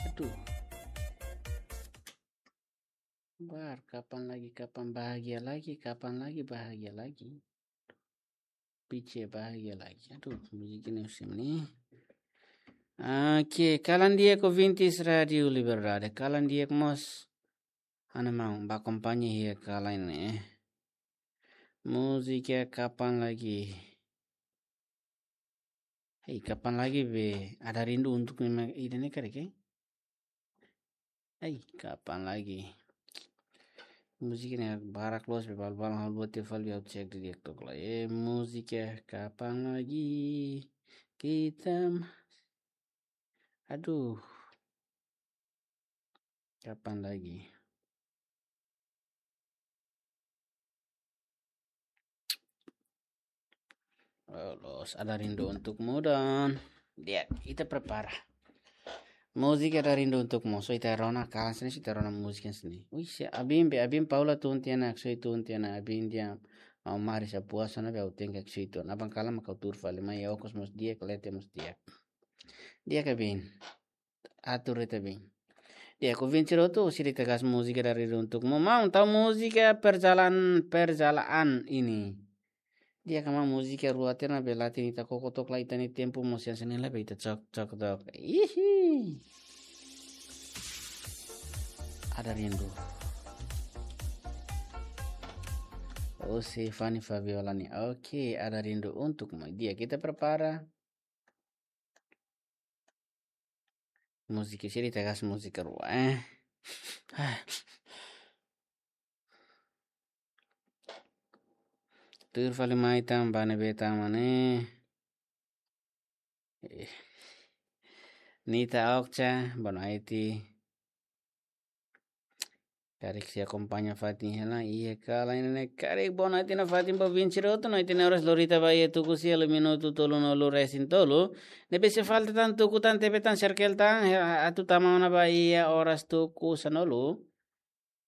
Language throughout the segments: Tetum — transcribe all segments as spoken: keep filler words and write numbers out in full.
Aduh. Bar, kapan lagi, kapan bahagia lagi, kapan lagi bahagia lagi. Pice bahagia lagi. Aduh, múzika ne'e husi mana? Oke, kalan di'ak ouvintes Rádio Liberdade. Kalan di'ak mós. Ana mau ba akompaña iha kalan ne'e. Múzika kapan lagi. Hei, kapan lagi be, ada rindu untuk memang ida ne'e kare ke? Hei, kapan lagi. Múzika ne'e barak loos be, bal-bal hal buat te fal biar cek di dia tok la. Eh, múzika kapan lagi. Kita m-, aduh. Kapan lagi? Oh, loos, ada rindu untukmu dan dia, ita prepara. Múzika ada rindu untukmu. So ita rona kalan sini, so ita rona múzika sini. Ui, si Abin be, Abin Paula tun tiana, so tun tiana, Abin dia mau mari sa puasa na be au tenke so itu. Abang kalan mak kau tur fali mai okos mós di'ak, lete mós di'ak. Di'ak Abin. Atur ita bin. Di'ak, ouvinte rotu, sira ita gas múzika ada rindu untukmu. Maun, tau múzika perjalanan, perjalanan ini. Di'ak, maun, múzika rua tiha ona be latin ita koko tok la, ita-nia tempu mós hanesan ne'e la be ita cok, cok tok. Ihi. Ada rindu. Oh, si Fani Fabiola nih. Oke, ada rindu untukmu. Di'ak, ita prepara. Múzika sira ita gas múzika rua, eh. Tur fali mai tan ba ne'ebé tan mane. Eh. Nita Okca, boa noite. Karik sei akompaña fatin hela, iha kalan ne'e, karik boa noite nafatin ba ouvinte rotu, noite ne'e oras Lorita ba iha tuku sia, halo minutu tolunulu resin tolu. Ne'ebé sei falta tan tuku tan, tebe tan, serkel tan, he, atu tama ona ba iha oras tuku sanulu.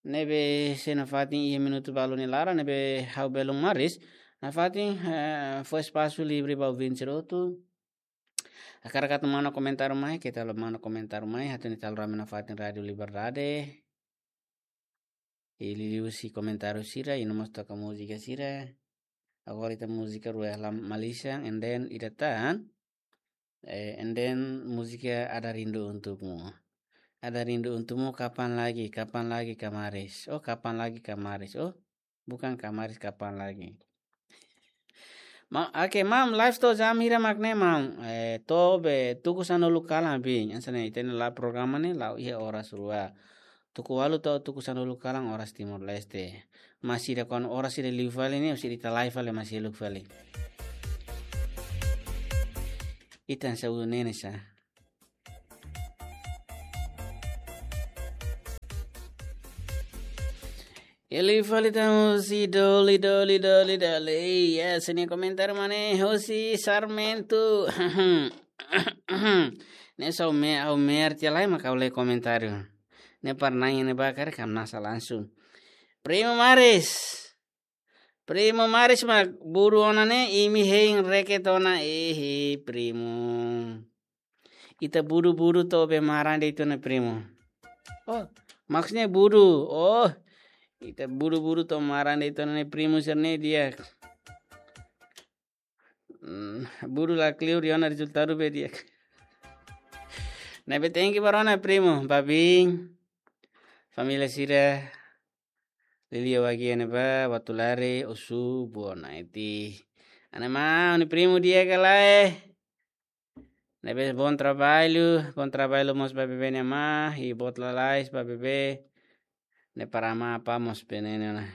Ne'ebé sei nafatin iha minutu balu nia laran, ne'ebé ha'u belun maris. Nafatin, eh, fó espasu livre ba ouvinte rotu. Hakarak atu manda komentáriu mai, keta haluha manda komentáriu mai, hatene ita halo rame nafatin Rádio Liberdade. I liuliu husi komentáriu sira, i no mós toka múzika sira. Agora ita múzika rua iha Malaysia, and then ida tan, eh, and then múzika Ada Rindu Untukmu. Ada rindu untukmu, kapan lagi, kapan lagi, Kamaris. Oh, kapan lagi, Kamaris. Oh, bukan Kamaris, kapan lagi. Ma, oke, maun, live to'o jam hira mak ne'e, maun? Eh, to'o be, tuku sanulu kalan, bin. Hanesan ne'e, ita-nia live programa ne'e, la'o iha oras rua. Tuku ualu to'o tuku sanulu kalan, oras Timor-Leste. Maibé ida kuandu oras ida liu fali ne'e, husi ita live fali, maibé seluk fali. Ita hanesan ulu nene sa. Liu fali tan husi Doli, Doli, Doli, Doli. Iya, sini komentar mana husi Sarmento. Ne'e só me, au mer tia lai mak au lee komentáriu. Ne'e parnai ne'e bakar kam nasa langsung. Primo Maris. Primo Maris mak buru ona ne'e, imi hein reket ona, ehe, primo. Ita buru-buru to'o be maran de'it ona, primo. Oh, maksudnya buru. Oh, ita buru-buru to'o maran de'it ona ne'e, primo sira-ne'e di'ak. Hmm, buru la kleur ona rezultadu be di'ak. Ne'ebé thank you ba rona, primo. Ba bin. Família sira. Liuliu bagian ne'ebá, Batulari, Osu, boa noite. Ana maun, ne'e primo di'ak ka lae? Ne'ebé bom trabalho, bom trabalho mós ba bebé nia amá, i boot lalais ba bebé. Ne'e para amá apá mós bele ne'e ona.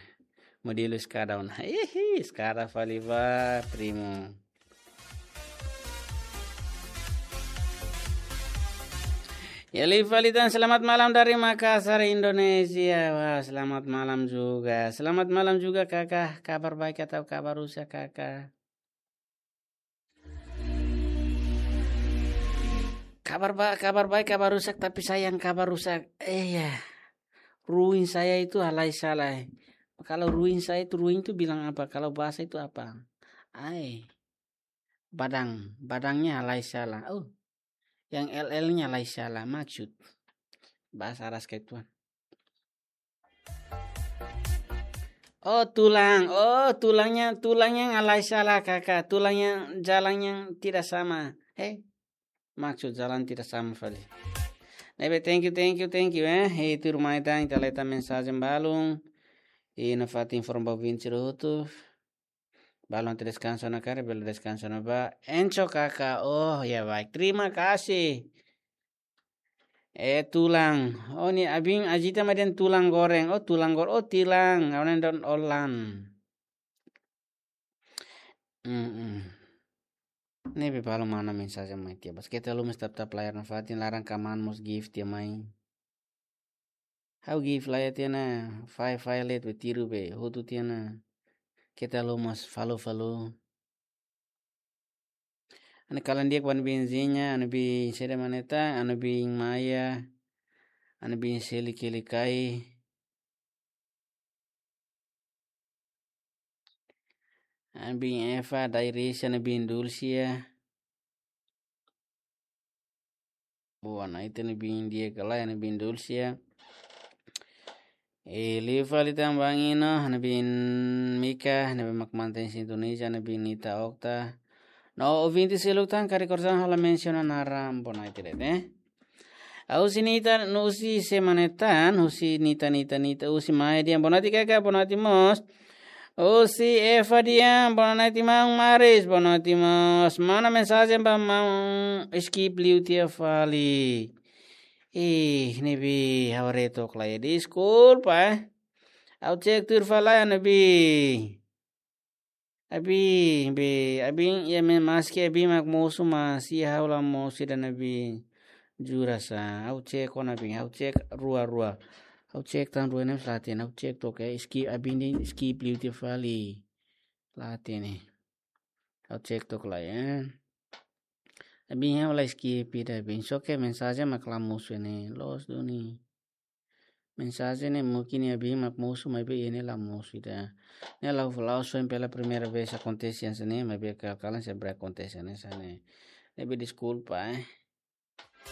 Modelu eskada ona. Ihi, eskada fali ba, primo. Ya, liu fali tan, selamat malam dari Makassar, Indonesia. Wah, selamat malam juga. Selamat malam juga, Kakak. Kabar baik atau kabar rusak, Kakak? Kabar ba-, kabar baik, kabar rusak, tapi sayang kabar rusak. Eh, ya. Ruin saya itu halai sala. Kalau ruin saya itu, ruin itu bilang apa? Kalau basah itu apa? Ai. Badang, badangnya halai sala. Oh. Yang L L-nya lai sala, maksud. Bahasa Arab sekali tuan. Oh, tulang. Oh, tulangnya, tulangnya ngalai salah, Kakak. Tulangnya, jalannya tidak sama. Eh, maksud jalan tidak sama fali. Ne'ebé, thank you, thank you, thank you, eh. Hei, tuirmai tan, ita leta mensajen balun. I nafatin informa ba ouvinte sira hotu. Balun atu deskansa ona karik, bele deskansa ona bá. Encho Kakak, oh, ya baik. Terima kasih. Eh, tulang. Oh, ne'e abin ajita mai dehan tulang goreng. Oh, tulang gor-, oh, tilang. Awan dan olan. Mm-mm. Ne'ebé balun mana mensajen mai tiha. Bas keta haluha mós tap-tap layar nafatin, laran ka man mós gift tiha mai. Ha'u gift layar tiha ona, fai fai let be tiru be, hotu tiha ona. Keta haluha mós follow follow. Ha'u-nia kalan di'ak ba ha'u-nia biin Zinha, ha'u-nia biin Sede Maneta, ha'u-nia biin Maya, ha'u-nia biin Seli Kelikai, ha'u-nia biin Eva, Dairis, ha'u-nia biin Dulcia. Boa, ha'u-nia biin di'ak ka lae, ha'u-nia biin Dulcia. E liu fali tan ba Ino, ha'u-nia biin Mika, ne'ebé mak mantein sintonia, ha'u-nia biin Nita Okta. No ouvinte seluk tan, karik orsida ha'u la mensiona naran, boa, ha'u-nia biin, eh. Husi Nita, no husi Sede Maneta, husi Nita, Nita, Nita, husi Maya dehan, boa noite Kakak, boa noite mós. Husi Eva dehan, boa noite maun Maris, boa noite mós. Mana mensajen ba maun, skip liu tiha fali. Ih, ne'ebé ha'u haree took lai. Deskulpa, eh. Ha'u cek tuir fali, ne'ebé. Abin, be, abin, ya me maski abin mak mosu, mas iha ha'u la mosu ida ne'ebé. Jura sa, ha'u cek ona abin, ha'u cek rua-rua. Ha'u cek tan rua ne'e la hatene, ha'u cek took, eh, skip, abin dehan skip liu tiha fali. La hatene. Ha'u cek took lai, eh. Abin ha'u la skip ida abin. Só ke mensajen mak la mosu ne'e, loos duni. Mensajen ne'e mungkin iha abin mak mosu, maibé iha ne'e la mosu ida. Ne'e la'ós, la'ós foin pela primeira vez akontese hanesan ne'e, maibé kalan-kalan sempre akontese hanesan ne'e. Ne'ebé deskulpa, eh.